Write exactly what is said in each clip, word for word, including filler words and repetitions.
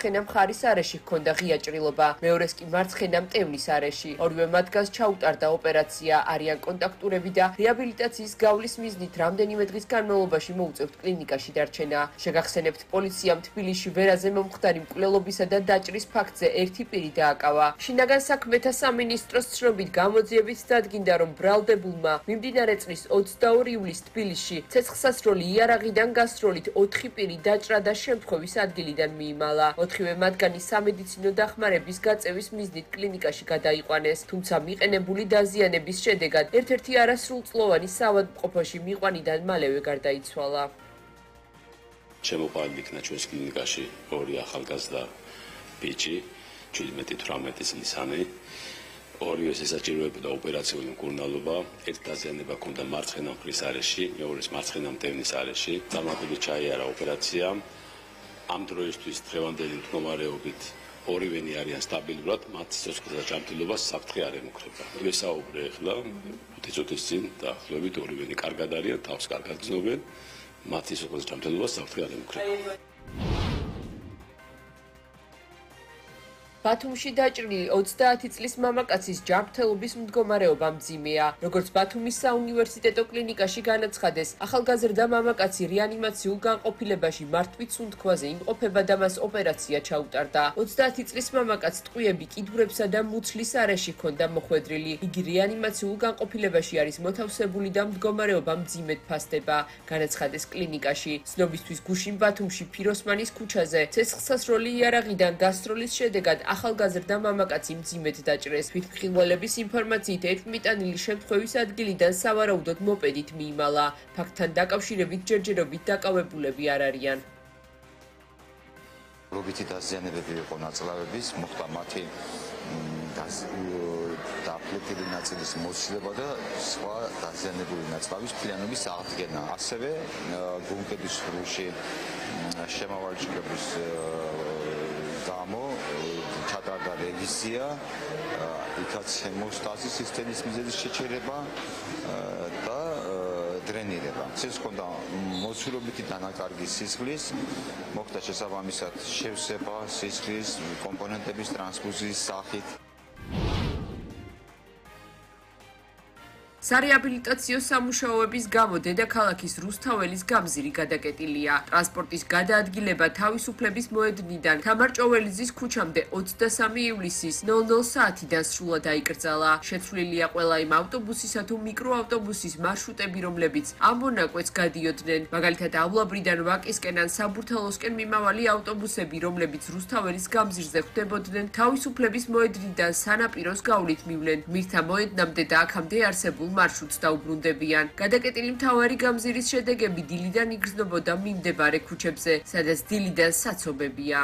მარცხენა მხარის არეში ჰქონდა ღია ჭრილობა, მეორეს კი მარცხენა მტევნის არეში. ორივე მათგანს ჩაუტარდა ოპერაცია, არიან კონტაქტურები და რეაბილიტაციის გავლის მიზნით რამდენიმე დღის განმავლობაში მოუწევთ კლინიკაში დარჩენა. შეგახსენებთ, პოლიციამ თბილისში ვერაზე მომხდარი მკვლელობისა და დაჭრის ფაქტზე ერთი პირი დააკავა. შინაგან საქმეთა სამინისტროს ცნობით გამოძიებით დადგინდა, რომ ბრალდებულმა მიმდინარე წლის ოცდაორი ივლისს თბილისში ცეცხლსასროლი იარაღიდან გასროლით ოთხი პირი დაჭრა და შემთხვევის ადგილიდან მიიმალა. ოთხივე მათგანი სამედიცინო დახმარების გაწევის მიზნით კლინიკაში გადაიყვანეს, თუმცა მიყენებული დაზიანების შედეგად ერთ-ერთი არასრულწლოვანი საავადმყოფოში მიყვანიდან მალევე გარდაიცვალა. შემოყვანილი იქნა ჩვენს კლინიკაში ორი ახალგაზრდა ბიჭი, ჩვიდმეტი თვრამეტი წლისანი. ორივეს ესაჭიროებოდა ოპერაციული მკურნალობა, ერთი დაზიანება ჰქონდა მარცხენა მხრის არეში, მეორეს მარცხენა მტევნის არეში. წარმატებით ჩაიარა ოპერაცია. ამ დროისთვის დღევანდელი მდგომარეობით ორივენი არიან სტაბილურად, მათ სიცოცხლეთა ჯანმრთელობას საფრთხე არ ემუქრება. ვესაუბრე ახლა ხუთი წუთის წინ დაახლოებით ორივენი კარგად არიან, თავს კარგად გრძნობენ, მათ სიცოცხლეთა ჯანმრთელობას საფრთხე არ ემუქრება. ბათუმში დაჭრილი ოცდაათი წლის მამაკაცის ჯანმრთელობის მდგომარეობა მძიმეა. როგორც ბათუმის საუნივერსიტეტო კლინიკაში განაცხადეს, ახალგაზრდა მამაკაცი რეანიმაციულ განყოფილებაში მართვით სუნთქვაზე იმყოფება და მას ოპერაცია ჩაუტარდა. ოცდაათი წლის მამაკაცს ტყვიები კიდურებსა და მუცლის არეში ჰქონდა მოხვედრილი. იგი რეანიმაციულ განყოფილებაში არის მოთავსებული და მდგომარეობა მძიმედ ფასდება, განაცხადეს კლინიკაში. ცნობისთვის გუშინ ბათუმში ფიროსმანის ქუჩაზე ცეცხლსასროლი იარაღიდან გასროლის შედეგად ახალგაზრდა მამაკაცი მძიმედ დაჭრეს. თვითმხილველების ინფორმაციით ერთმიტანილი შემთხვევის ადგილიდან სავარაუდოდ მოპედით მიიმალა. ფაქტთან დაკავშირებით ჯერჯერობით დაკავებულები არ არიან. რობითი დაზიანებები იყო ნაწლავების, მოხდა მათი დაფლეტილი ნაწილის მოსილება და სხვა დაზიანებული ნაწლავის ფილიანობის აღდგენა. ასევე გულმკერდის სრულში შემავალჭრების გამო ჩატარდა რევიზია, იქაც ჰემოსტაზის სისტემის მიზეზის შეჩერება და დრენირება. ეს ჰქონდა მოცულობითი დანაკარგი სისხლის, მოხდა შესაბამისად შევსება სისხლის კომპონენტების ტრანსფუზიის სახით. სარეაბილიტაციო სამუშაოების გამო დედაქალაქის რუსთაველის გამზირი გადაკეტილია. ტრანსპორტის გადაადგილება თავისუფლების მოედნიდან თამარ-ჭოველიძის ქუჩამდე ოცდასამი ივლისის ნულ ნულ საათიდან სრულად აიკრძალა. შეცვლილია ყველა იმ ავტობუსისა თუ მიკროავტობუსის მარშრუტები, რომლებიც ამ მონაკვეთს გადიოდნენ. მაგალითად, ავლაბრიდან ვაკისკენ ან საბურთალოსკენ მიმავალი ავტობუსები, რომლებიც რუსთაველის გამზირზე ხვდებოდნენ, თავისუფლების მოედნიდან სანაპიროს გავლით მივლენ. მირთა მოედნამდე და აქამდე არსებულ მარშრუტს დაუბრუნდებიან. გადაკეტილი მთავარი გამზირის შედეგები დილიდან იგრძნობოდა მიმდებარე ქუჩებზე, სადაც დილიდან საცობებია.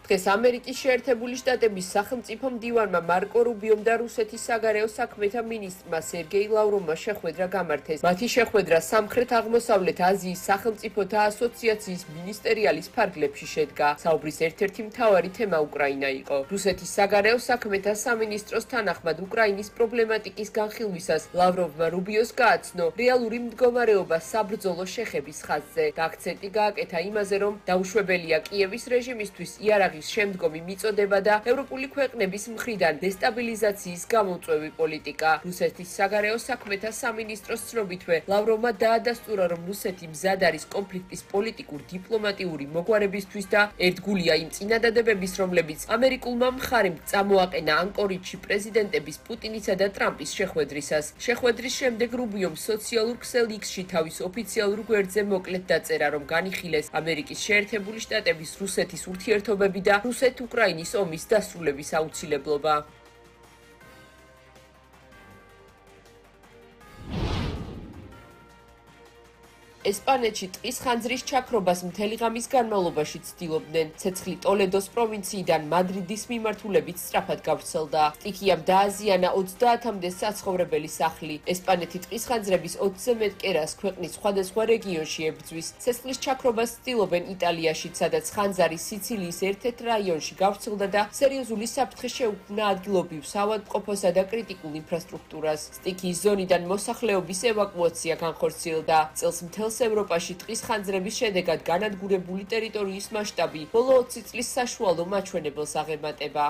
დღეს ამერიკის შეერთებული შტატების სახელმწიფო მდივანმა მარკო რუბიომ და რუსეთის საგარეო საქმეთა მინისტრმა სერგეი ლავროვმა შეხვედრა გამართეს. მათი შეხვედრა სამხრეთ-აღმოსავლეთ აზიის სახელმწიფოთა ასოციაციის მინისტერიალის ფარგლებში შედგა. საუბრის ერთ-ერთი მთავარი თემა უკრაინა იყო. რუსეთის საგარეო საქმეთა სამინისტროს თანახმად უკრაინის პრობლემატიკის განხილვისას ლავროვმა რუბიოს გააცნო რეალური მდგომარეობა საბრძოლო შეხების ხაზზე და აქცენტი გააკეთა იმაზე, რომ დაუშვებელია კიევის რეჟიმისთვის იარაღი შემდგომი მიწოდება და ევროპული ქვეყნების მხრიდან დესტაბილიზაციის გამომწვევი პოლიტიკა. რუსეთის საგარეო საქმეთა სამინისტროს ცნობითვე ლავროვმა დაადასტურა, რომ რუსეთი მზად არის კონფლიქტის პოლიტიკურ-დიპლომატიური მოგვარებისთვის და ერთგულია იმ წინადადებების, რომლებიც ამერიკულმა მხარემ წამოაყენა ანკორიჯში პრეზიდენტების პუტინისა და ტრამპის შეხვედრისას. შეხვედრის შემდეგ რუბიომ სოციალურ ქსელ იქსში თავის ოფიციალურ გვერდზე მოკლედ დაწერა, რომ განიხილეს ამერიკის შეერთებული შტატების რუსეთის ურთიერთობები და რუსეთ-უკრაინის ომის დასრულების აუცილებლობა. ესპანეთში ტყის ხანძრის ჩაქრობას მთელი ღამის განმავლობაში ცდილობდნენ. ცეცხლი ტოლედოს პროვინციიდან მადრიდის მიმართულებით სწრაფად გავრცელდა. სტიქიამ დააზიანა ოცდაათამდე საცხოვრებელი სახლი. ესპანეთი ტყის ხანძრების ოცზე მეტ კერას ქვეყნის სხვადასხვა რეგიონში ებრძვის. ცეცხლის ჩაქრობას ცდილობენ იტალიაში, სადაც ხანძარი სიცილიის ერთ-ერთ რაიონში გავრცელდა და სერიოზული საფრთხე შეუქმნა ადგილობრივ საავადმყოფოსა და კრიტიკულ ინფრასტრუქტურას. სტიქიის ზონიდან მოსახლეობის ევაკუაცია განხორციელდა. წელს მთელს ევროპაში ტყის ხანძრების შედეგად განადგურებული ტერიტორიის მასშტაბი ბოლო ოცი წლის საშუალო მაჩვენებელს აღემატება.